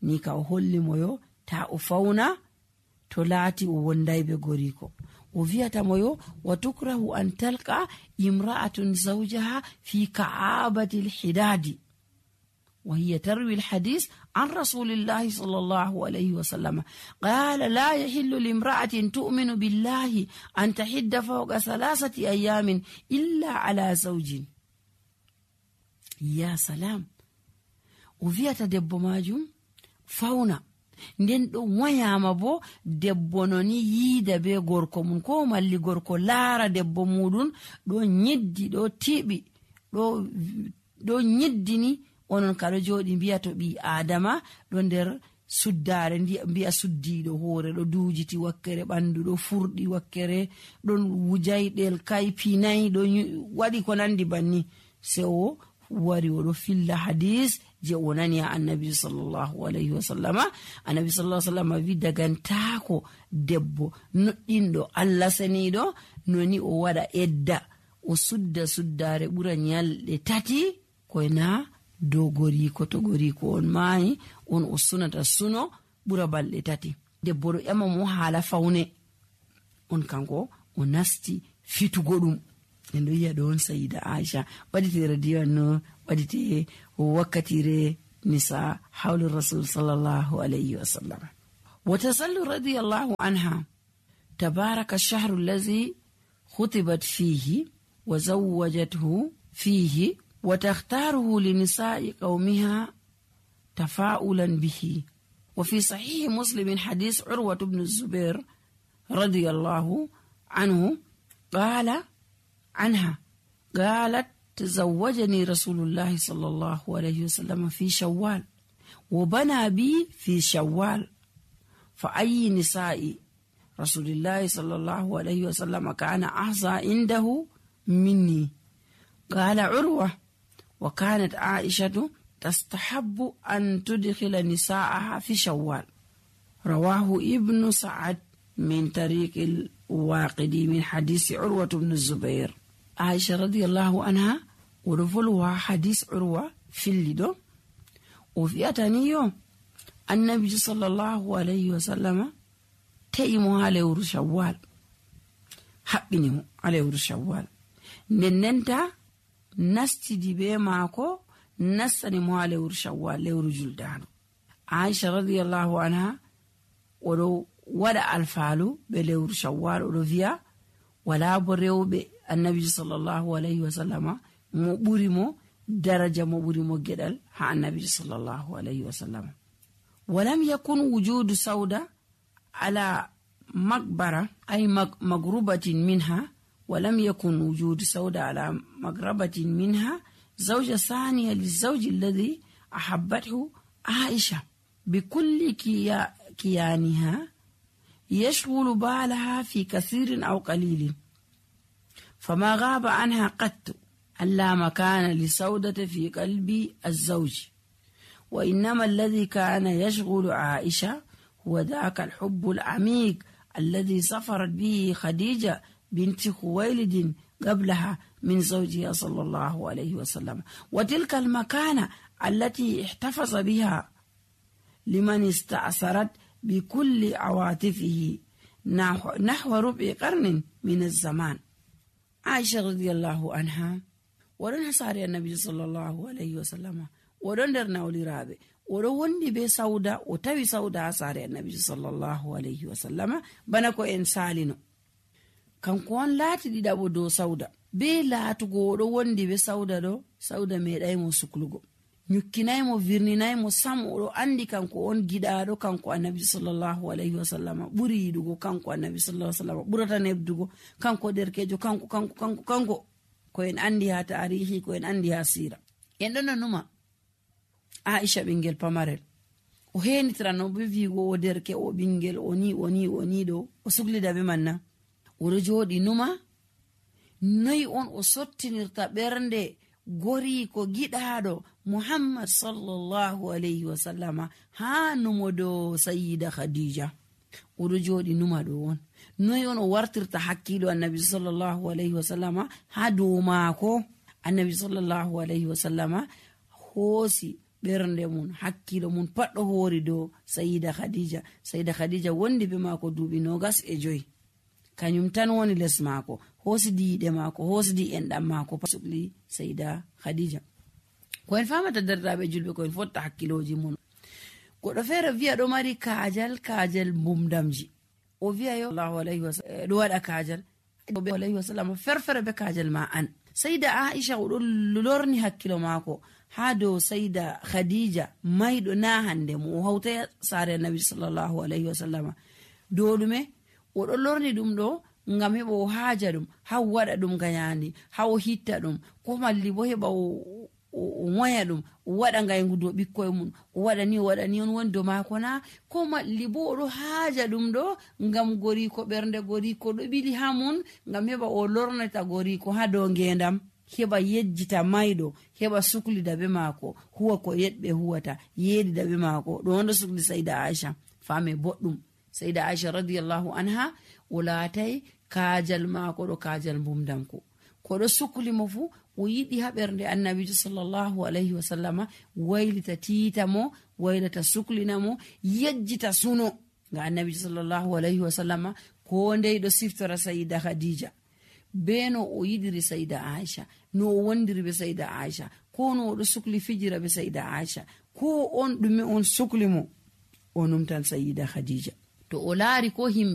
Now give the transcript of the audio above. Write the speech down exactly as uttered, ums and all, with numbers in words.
ni ka o holli mo yo ta o fauna to laati o wondai be goriko. O vi'ata mo yo wa tukrahu an talqa imra'atun zawjaha fi ka'abati al-hidadi wa hiya tarwi al-hadith an rasulillahi sallallahu alayhi wa sallam qala la yahillu limra'atin tu'minu billahi an tahidda fawqa thalathati ayamin illa ala zawjin. Ya salam. O vi'ata debbo majum fauna nden ɗo wayama bo debbo noni yiida be gorko mun ko malli gorko laara debbo muɗum ɗo nyiddi ɗo tiɓi ɗo ɗo nyiddini onon kaɗo jooɗi mbiya to ɓi adama ɗo nder suddare mbiya suddiɗo hoore ɗo duujiti wakkere ɓandu ɗo furɗi wakkere ɗon wujayɗel kai pinayi ɗo waɗi ko nandi banni. Se o wari oɗo filla hadis je o nani ha annabi sallallahu alayhi wa sallama. Annabi sallallahu alayhi wa sallama wi dagantako debbo noɗɗinɗo Allah seniɗo noni o waɗa edda o sudda suddare ɓura nyalɗe tati koyna dow goriko. To goriko on maayi on o sunata suno ɓura balɗe tati. Debbo ɗo ƴama mo haala fawne on kanko o nasti fitugo ɗum. En ɗo yi'a ɗo on Sayyida Aisha waɗitire diwan no waɗite wakkatire nisa hawlu rasul sallallahu alayhi wa sallam. Wa tasallu radiyallahu anha tabaraka ash-shahru alladhi khutibat fihi wa zawwajathu fihi wa takhtaruhu li nisa'i qawmiha tafa'ulan bihi. Wa fi sahih Muslim hadith Urwa ibn Zubair radiyallahu anhu qala عنها قالت تزوجني رسول الله صلى الله عليه وسلم في شوال وبنى بي في شوال فأي نساء رسول الله صلى الله عليه وسلم كان أحظى عنده مني. قال عروة وكانت عائشة تستحب أن تدخل نساءها في شوال. رواه ابن سعد من طريق الواقدي من حديث عروة بن الزبير. عائشة رضي الله عنها ورفلها حديث عروة في الليدو وفي أتانيو النبي صلى الله عليه وسلم تيمو على ور شوال حقني على ور شوال نننتا نستي دي بي ماكو نسني مو على ور شوال لور جلدان. عائشة رضي الله عنها ورو wada alfalu be lewru shawwal o do viya wala bo rewbe annabi sallallahu alayhi wa sallama mo buri mo daraja mo buri mo gedal ha annabi sallallahu alayhi wa sallam. Walam yakun wujudu sauda ala magbara ay magrubatin minha walam yakun wujudu sauda ala magrabatin minha zawja thaniya lizawj alladhi ahabbathu Aisha bikulli kiyaniha يشغل بالها في كثير أو قليل فما غاب عنها قط ألا مكان لسودة في قلب الزوج وإنما الذي كان يشغل عائشة هو ذاك الحب العميق الذي سفرت به خديجة بنت خويلد قبلها من زوجها صلى الله عليه وسلم وتلك المكانة التي احتفظ بها لمن استأثرت بكل عواطفه نحو, نحو ربع قرن من الزمان. عائشة رضي الله عنها ورن حساري النبي صلى الله عليه وسلم ورن درنا ولرابي ورن بي سودا وتوي سودا حساري النبي صلى الله عليه وسلم بنكو إنسالينو كان كون لاتي دي دابو دو سودا بي لاتو غورو وندي بي سودا دو سودا ميداي مو سكلوغو nyukkinay mo virninay mo sam o andi kanko on gidaado kanko annabi sallallahu alayhi wasallam buri yidugo kanko annabi sallallahu alayhi wasallam burata nebdugo kanko derkejo kanko kanko kanko kanko ko en andi ha tarihi ko en andi ha sira en don numa Aisha bingel pamarel o henitra no be vigo o derke o bingel oni oni oni do o suglida be manna o jodi numa noy on o sottinirta bernde gori ko gidaado Muhammad sallallahu alayhi wa sallama ha numodo Sayyida Khadija odo jodi numa do won noy on o wartirta hakkilo annabi sallallahu alayhi wa sallama ha do maako annabi sallallahu alayhi wa sallama hosi ɓernde mum hakkilo mum pat ɗo hoori dow sayida khadija. Sayida khadija wondi be maako duuɓi nogas e joyi, kañum tan woni les maako, hoosidi yiɗe maako, hoosidi enɗam maako pasukli sayida khadija. Ko en famata derɗiraɓe julɓe, ko en fotta hakkiloji mun. Goɗɗo feere wiya ɗo mari kaajal, kaajal mbumdamji. O wiya yo allahu alayhi wa sallam ɗo waɗa kaajal alayhi wa sallam ferfere be kaajal ma an. Sayida Aisha o ɗo lorni hakkilo maako ha dow sayida khadija mayɗo na hande mo o hawta saare annabi sallallahu alayhi wa sallam. Dow ɗume o ɗo lorni ɗum ɗo ngam heɓa o haaja ɗum, ha o waɗa ɗum gayandi, ha o hitta ɗum, ko malli bo heɓa o o moya ɗum, o waɗa ngaygu dow ɓikkoye mum, o waɗa ni o waɗa ni on woni dow maako na, ko malli bo o ɗo haaja ɗum ɗo ngam goriko, ɓernde goriko ɗo ɓili ha mun, ngam heɓa o lornata goriko ha dow ngendam, heɓa yejjita mayɗo, heɓa suklida be maako, huwa ko yeɗɓe huwata, yeɗida be maako. ɗo on ɗo sukli sayida Aisha. Fame boɗɗum, sayida Aisha radiyallahu anha o laatay kaajal maako ɗo kaajal mbumdamko, ko ɗo sukli mo fu o yiɗi ha ɓernde annabijo sallallahu alayhi wa sallama waylita tiita mo, waylata suklina mo, yejjita suno. Nga annabijo sallallahu alayhi wa sallama ko ndey ɗo siftora sayida khadija be no o yiɗiri sayida Aisha, no o wondiri be sayida Aisha, ko no o ɗo sukli fijira be sayida Aisha, ko on ɗume on sukli mo o numtan sayida khadija. To o laari ko himɓe